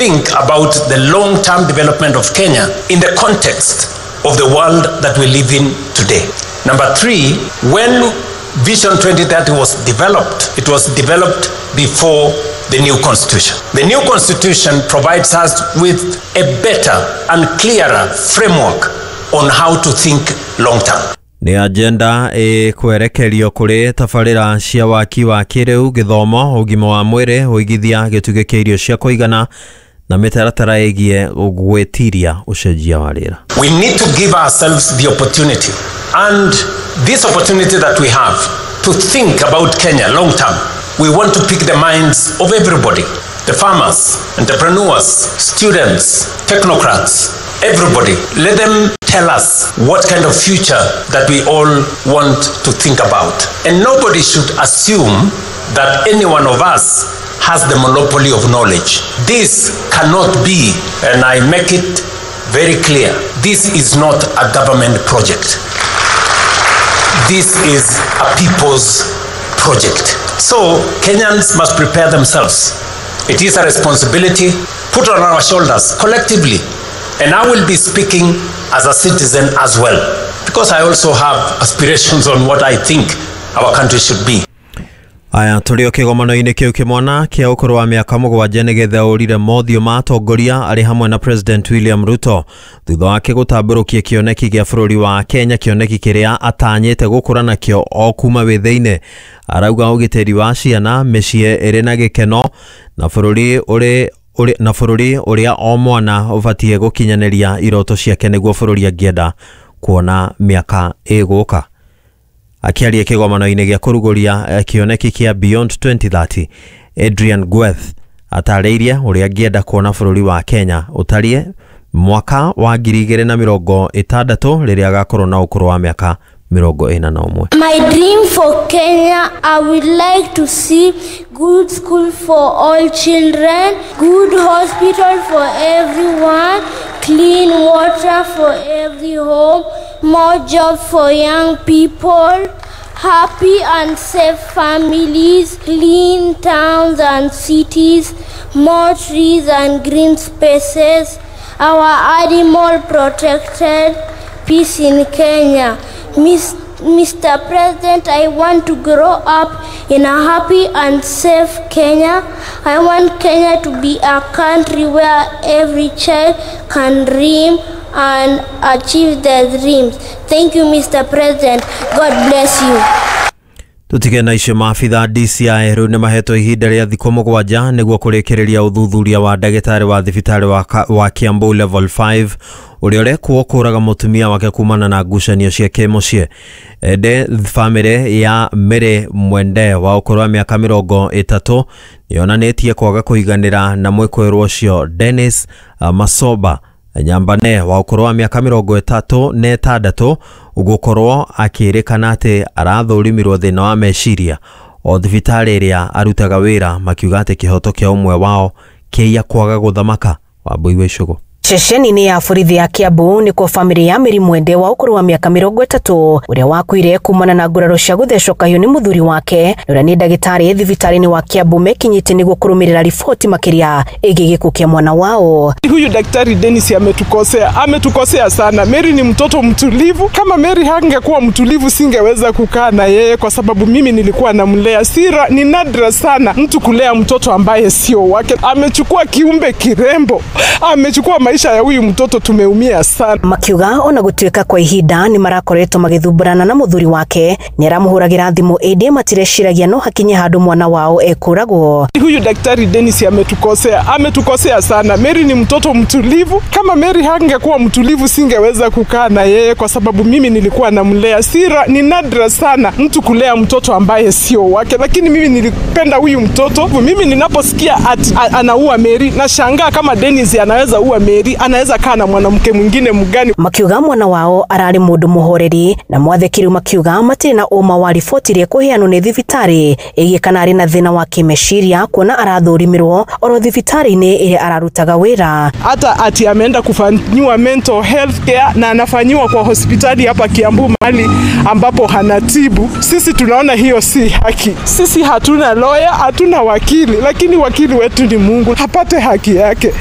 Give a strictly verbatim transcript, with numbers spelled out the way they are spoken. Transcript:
Think about the long-term development of Kenya in the context of the world that we live in today. Number three, when Vision twenty thirty was developed, it was developed before the new constitution. The new constitution provides us with a better and clearer framework on how to think long term. Nĩ agenda ĩkwerekerio kũrĩ tabarĩra cia waki wa kĩrĩu, gĩthomo, ũgima wa mwĩrĩ, ũigithia, gĩtugĩ kĩa irio cia kũigana na mĩtaratara ĩgiĩ gwĩtiria ũcenjia wa rĩera. We need to give ourselves the opportunity, and this opportunity that we have to think about Kenya long term. We want to pick the minds of everybody, the farmers, entrepreneurs, students, technocrats, everybody. Let them tell us what kind of future that we all want to think about. And nobody should assume that any one of us has the monopoly of knowledge. This cannot be, and I make it very clear, this is not a government project. This is a people's project. So Kenyans must prepare themselves. It is a responsibility put on our shoulders collectively. And I will be speaking as a citizen as well, because I also have aspirations on what I think our country should be. Aya tũrĩ o kĩgomano-inĩ kĩu kĩmwana kĩa ũkũrũ wa mĩaka mũgwanja nĩgetha ũrire mothiũ ma atongoria arĩ hamwe na President William Ruto thutha wake gũtambũrũkia kĩoneki gĩa bũrũri wa Kenya, kĩoneki kĩrĩa atanyĩte gũkũra nakĩo o kuma wĩthĩ-inĩ. Arauga ũgitĩri wa ciana, mĩciĩ ĩrĩ na gĩkeno na bũrũri ũrĩ ũrĩ na bũrũri ũrĩa o mwana ũbatiĩ gũkinyanĩria iroto ciake nĩguo bũrũri angĩenda kuona mĩaka ĩgũka. Akĩaria kĩgomano-inĩ gĩa kũrugũria kĩoneki kĩa Beyond twenty thirty, Adrian Gweth atarĩirie ũrĩa angĩenda kuona bũrũri wa Kenya ũtariĩ mwaka wa ngiri igĩrĩ na mĩrongo ĩtandatũ rĩrĩa agakorwo na ũkũrũ wa mĩaka mĩrongo ĩna na ũmwe. My dream for Kenya, I would like to see good school for all children, good hospital for everyone, clean water for every home, more job for young people, happy and safe families, clean towns and cities, more trees and green spaces, our animal protected, peace in Kenya. Mister President, I want to grow up in a happy and safe Kenya. I want Kenya to be a country where every child can dream and achieve their dreams. Thank you, Mister President. God bless you. Tutige na icio maabitha D C I rĩu nĩmahetwo ihinda rĩa thikũ mũgwanja nĩguo kũrĩkĩrĩria ũthuthuria wa ndagĩtarĩ wa thibitarĩ wa, wa Kiambu level five ũrĩa ũrekwo kũraga mũtumia wake kumana na ngucanio cia kĩmũciĩ. Ende bamĩrĩ ya Mary Mwende wa ũkũrũ wa mĩaka mĩrongo ĩtatũ yonanĩtie kwaga kũiganĩra na mwĩkũĩrwo ũcio Dennis uh, Masoba Nyambane wa ũkũrũ wa mĩaka mĩrongo ĩtatũ na ĩtandatũ gũkorwo akĩrĩkana atĩ arathũrimirwo thĩna wa meciria o thibitarĩ ĩrĩa arutaga wĩra, makiuga atĩ kĩhoto kĩa ũmwe wao kĩia kwaga gũthamaka. Wambui wa Icũgũ. Ceceni-inĩ ya borithi ya Kiambu nĩkuo bamĩrĩ ya Mary Mwende wa ũkũrũ wa mĩaka mĩrongo ĩtatũ ũrĩa wakuire kumana na nguraro cia gũthecwo kahiũ nĩ mũthuri wake ũrĩa nĩ ndagĩtarĩ thibitarĩ-inĩ wa Kiambu mekinyĩte nĩguo kũrũmĩrĩra riboti makĩria ĩgiĩ gĩkuũ kĩa mwana wao. Huyu daktari Dennis ametukosea, ametukosea sana. Mary ni mtoto mtulivu. Kama Mary hangekuwa mtulivu singeweza kukaa na yeye kwa sababu mimi nilikuwa namlea. Sira ni nadra sana mtu kulea mtoto ambaye sio wake. Amechukua kiumbe kirembo, amechukua maisha ya huyu mtoto, tumeumia sana. Makiuga ona gutuika kwa ihinda ni marakoretwo magithumburana na muthuri wake ni aramuhuragira thimu indi matireciragia no hakinye handu mwana wao ekuragwo. Huyu daktari Dennis ametukosea, ametukosea sana. Mary ni mtoto mtulivu. Kama Mary hangekuwa mtulivu singeweza kukaa na yeye kwa sababu mimi nilikuwa namlea. Sira ni nadra sana mtu kulea mtoto ambaye sio wake, lakini mimi nilipenda huyu mtoto. Mimi ninaposikia anaua Mary nashangaa kama Dennis anaweza ua Mary. Mary anaweza kaa na mwanamke mwingine mgani? Makiuga mwana wao ararĩ mũndũ mũhoreri na mwathĩkĩri makiuga matirĩ na ũma wa riboti ĩrĩa ĩkũheanwo nĩ thibitarĩ ĩgiĩ kana arĩ na thĩna wa kĩmeciria kuona arathũrimirwo oro thibitarĩ-inĩ ĩrĩa ararutaga wĩra. Hata ati ameenda kufanyiwa mental health care na anafanyiwa kwa hospitali hapa Kiambu mahali ambapo hanatibu. Sisi tunaona hiyo si haki. Sisi hatuna lawyer, hatuna wakili, lakini wakili wetu ni Mungu, apate haki yake.